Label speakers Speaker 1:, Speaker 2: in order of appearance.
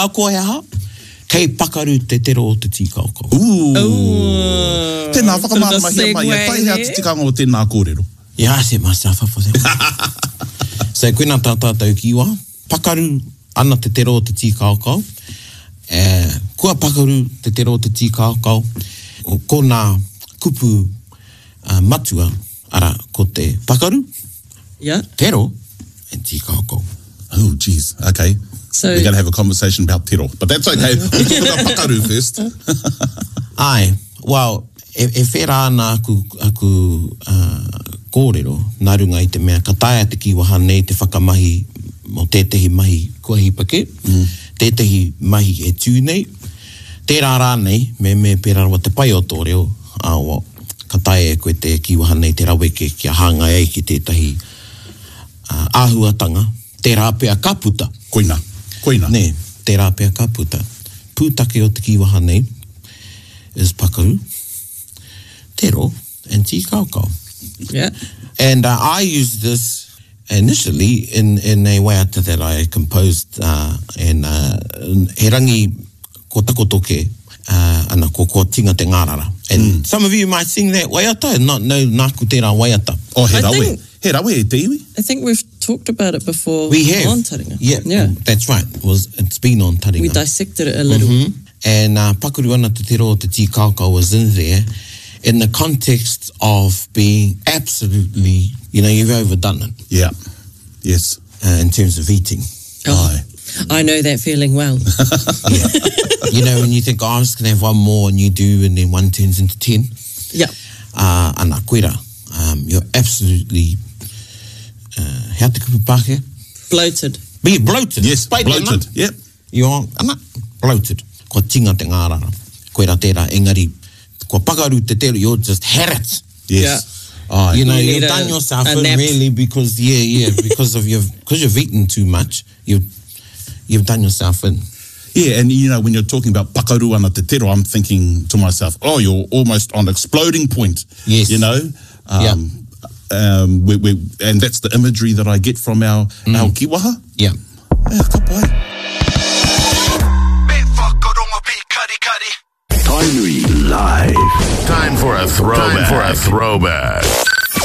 Speaker 1: Ahakoa he aha, kei pakaru te tero o te tīkaokao.
Speaker 2: Ooh. Tēnā, whakamāramahia mai e tai hea te tikanga o tēnā kōrero.
Speaker 1: Yeah, I set myself up for that one. So, koina tā tātou kīwaha, pakaru ana te tero o te tīkaokao, eh, kua pakaru te tero o te tīkaokao, ko nā kupu matua, arā, ko te pakaru,
Speaker 3: yeah.
Speaker 1: tero, and tīkaokao.
Speaker 2: Oh, jeez. Okay. So, We're going to have a conversation about tero, but that's okay. We'll talk about pakaru first.
Speaker 1: Ai, well, e, e whera ana aku, aku uh, kōrero, nā runga i te mea, ka taea te kīwaha nei te whakamahi mō tētehi mahi kua hipa kē, mm. tētehi mahi e tū nei, tērā rānei, me me pērā rawa te pai o tō reo, ā, well, ka taea e koe te kīwaha nei te raweke kia hāngai ai ki tētahi āhuatanga, tērā pea ka puta.
Speaker 2: Koina. Koina.
Speaker 1: Nē, tērā pea ka puta. Pūtake o te kīwaha nei is pakaru, tero and tīkaokao.
Speaker 3: Yeah.
Speaker 1: And uh, I used this initially in, in a waiata that I composed uh, and uh, he rangi ko takoto ke, uh, ana ko kua tinga te ngārara. And mm. some of you might sing that waiata and not know nāku tērā waiata.
Speaker 2: Oh, he rawe. Think, he rawe e te iwi.
Speaker 3: I think we've talked about it before
Speaker 1: we have.
Speaker 3: on Taringa.
Speaker 1: Yeah, yeah. That's right. It was, it's been on Taringa.
Speaker 3: We dissected it a little.
Speaker 1: Mm -hmm. And uh, pakaru ana te tero o te tīkaokao was in there in the context of being absolutely, you know, you've overdone it.
Speaker 2: Yeah. Yes.
Speaker 1: Uh, in terms of eating.
Speaker 3: Oh, I know that feeling well.
Speaker 1: yeah. You know, when you think, oh, I'm just going to have one more, and you do, and then one turns into ten.
Speaker 3: Yeah.
Speaker 1: Uh, ana, koira. Um, you're absolutely, uh, hea te kupu Pākehā?
Speaker 3: Bloated.
Speaker 1: Be bloated.
Speaker 2: Yes,
Speaker 1: Pai
Speaker 2: bloated.
Speaker 1: Tēnā.
Speaker 2: Yep.
Speaker 1: You are, ana, bloated. Kua tinga te ngārara. Koira tērā, engari, kua pakaru te tero, you're just had it.
Speaker 2: Yes.
Speaker 3: Yeah.
Speaker 2: Aye.
Speaker 1: You know,
Speaker 3: You
Speaker 1: you
Speaker 3: need
Speaker 1: have done
Speaker 3: a-
Speaker 1: yourself
Speaker 3: a
Speaker 1: in
Speaker 3: nap.
Speaker 1: really because, yeah, yeah, because of your, because you've eaten too much, you've, you've done yourself in.
Speaker 2: Yeah, and you know, when you're talking about pakaru ana te tero, I'm thinking to myself, oh, you're almost on exploding point.
Speaker 1: Yes.
Speaker 2: You know?
Speaker 1: Yeah.
Speaker 2: Um, we, we, and that's the imagery that I get from our, mm. our kiwaha.
Speaker 1: Yeah.
Speaker 2: Yeah, ka pai.
Speaker 4: Tainui Live.
Speaker 5: Time for a throwback. Time for a throwback.